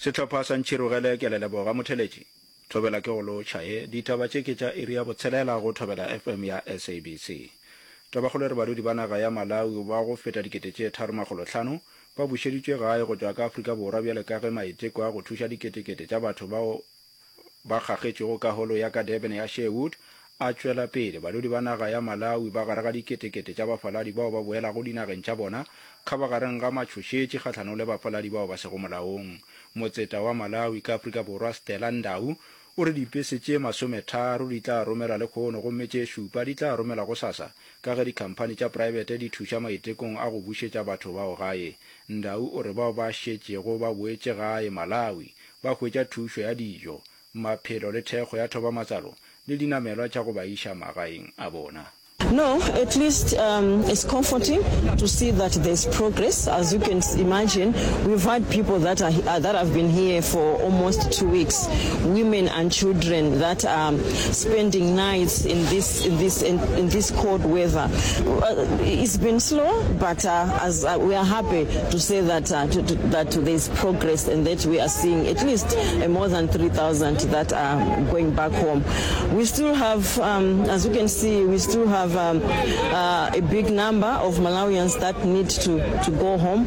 Sehlopha sa Ntšhirogele ke a le leboga motheletši. Thobela ke go lotšha ye. Ditaba tše ke tša iri ya botshelela go Thobela FM ya SABC. Tabakgolo e re badudi ba naga ya Malawi ba go feta dikete tše tharomakgolohlano ba bušeditšwe gae go tšwa ka Afrika Borwa bjale ka ge maiteko a go thuša diketekete tša batho bao ba kgakgetšwego ka holo ya ka Durban ya Sherwood a tšwela pele. Badudi ba naga ya Malawi ba gare ga diketekete tša bafaladi bao ba boelago dinageng tša bona kgabagareng ga matšhošetši kgahlanong le bafaladi bao ba sego molaong. Motseta wa Malawi ka Afrika Borwa Stella Ndau o re dipese tše masometharo di tla romelwa lehono gomme tše šupa di tla romelwa gosasa ka ge dikhamphani tša praebete di thuša maitekong a go bušetša batho bao gae. Ndau o re bao ba šetšego ba boetše gae Malawi ba hwetša thušo ya dijo, maphelo le thekgo ya thobamatsalo le dinamelwa tša go ba iša magaeng a bona. No, at least um, it's comforting to see that there's progress. As you can imagine, we've had people that are uh, that have been here for almost two weeks, women and children that are spending nights in this in this in, in this cold weather. Uh, it's been slow, but uh, as uh, we are happy to say that uh, to, to, that there's progress and that we are seeing at least uh, more than 3,000 that are going back home. We still have, um, as you can see, we still have um, uh, a big number of Malawians that need to, to go home.